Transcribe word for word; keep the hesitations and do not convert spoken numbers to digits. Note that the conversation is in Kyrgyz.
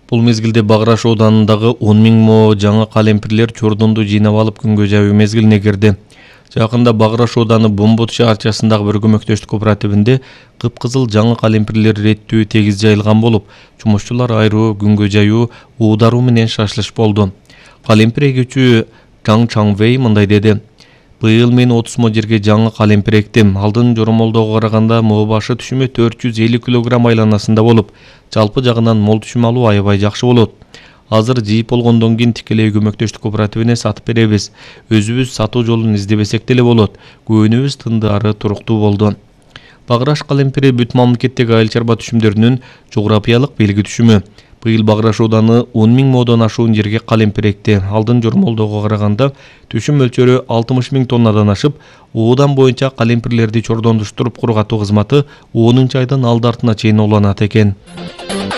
Бул мезгилде Баграш ооданындагы он миң мо жаңы калемпирлер чордонду жыйнап алып күнгө жайуу мезгилине кирди. Жакында Баграш ооданы Бомбот шаарчасындагы бир көмөктөштүк кооперативинде кыпкызыл жаңы калемпирлер реттүү тегиз жайылган болуп, жумушчулар айруу, күнгө жайуу, уударуу менен шашлыш болду. Калемпир эгүүчү Чаң Чаңвей мындай деди: "Быйыл мен отуз мо жерге жаңы калемпир эктим. Алдын жоромолдоого караганда мо башы түшүмү төрт жүз элүү килограмм айланасында болуп, жалпы жагынан мол түшүм алуу аябай жакшы болот. Азыр жыйып болгондон кийин тикелей көмөктөштүк кооперативине сатып беребиз. Өзүбүз сатуу жолун издебесек деле болот. Көөнүбүз тындары туруктуу болду." Баграш калемпири бүт мамлекеттеги айыл чарба түшүмдөрүнүн жографиялык белги түшүмү. Быйыл Баграш ооданы он миң модон ашуун жерге калемпир экти. Алдын жоромолдоого караганда түшүм мөлчөрү алтымыш миң тоннадан ашып, оодан боюнча калемпирлерди чордондуштуруп кургатуу кызматы онунчу айдын алды артына чейин уланат экен.